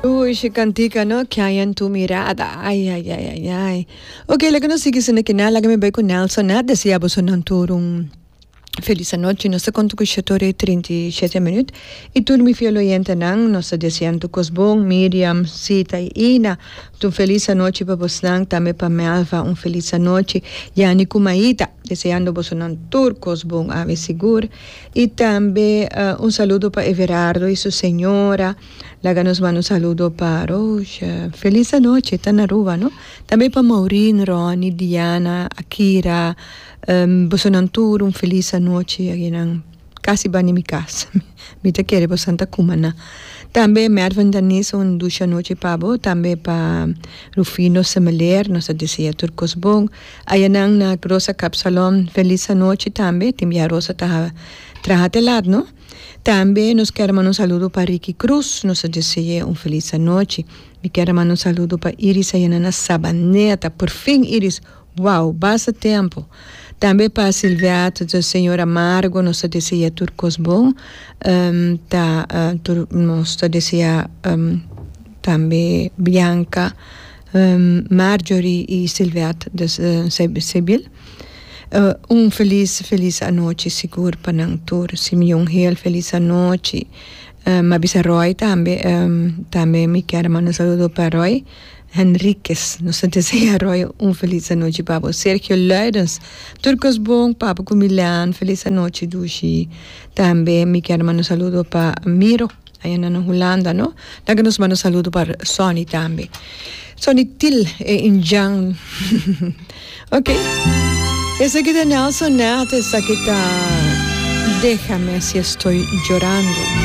Uy, shi cantica no, que hay en tu mirada. Ay, ay, ay, ay, ay. Ok, laga nos sigui sende kina, laga mi bay cu Nelson na desea boso nan tur un feliz anochi. Nos ta conta cu shete ora y 37 minuut. Y tur mi fiel oyentenan, nos ta desea nan tur cos bon. Miriam, Sita y Ina, un feliz anochi pa bosnan. Tambe pa Melva, un feliz anochi. Yani cu Maita, deseando boso nan tur cos bon awe sigur. Y tambe un saludo pa Everardo y su señora. Laga nos manda un saludo pa Roosje. Feliz anochi, ta na Aruba, no? Tambe pa Maureen, Ronnie, Diana, Akira. Bosonan tur un feliz anochi. Aginan casi bani mi cas. Mi ta kere bosan ta cumana. Tambe Mervin Danis un dushi anochi pa bo. Tambe pa Rufino Semeleer. Nos ta desea tur cos bon. Ayanan na Rosa Kapsalon feliz anochi tambe. Tin bia Rosa ta traha te laat, no? Tambe nos kier manda un saludo pa Ricky Cruz, nos ta dese'e un feliz anochi. Mi kier a manda un saludo pa Iris ayana na Sabaneta, por fin Iris, wow, basta tempo. Tambe pa Silviat, de señora Margo, nos ta desea tur cos bon. Ta tur nos ta desea tambe Bianca, Marjorie y Silviat, dus Sebil. Un felis felis anochi sigur pa nan tur. Simeon Hill felis anochi. Mi a bisa Roy tambe tambe mi kier manda un saludo pa Roy Henriquez. Nos ta desea Roy un felis anochi pa bo. Sergio Luidens tur kos bon pa bo ku Milan felis anochi dushi. Tambe mi kier manda un saludo pa Miro. Aya nan na Hulanda no. Laga nos manda saludo pa Sonny tambe. Sonny Til e indjan. Ok. Esaki ta Nelson Nat, esaki ta Déjame si estoy llorando.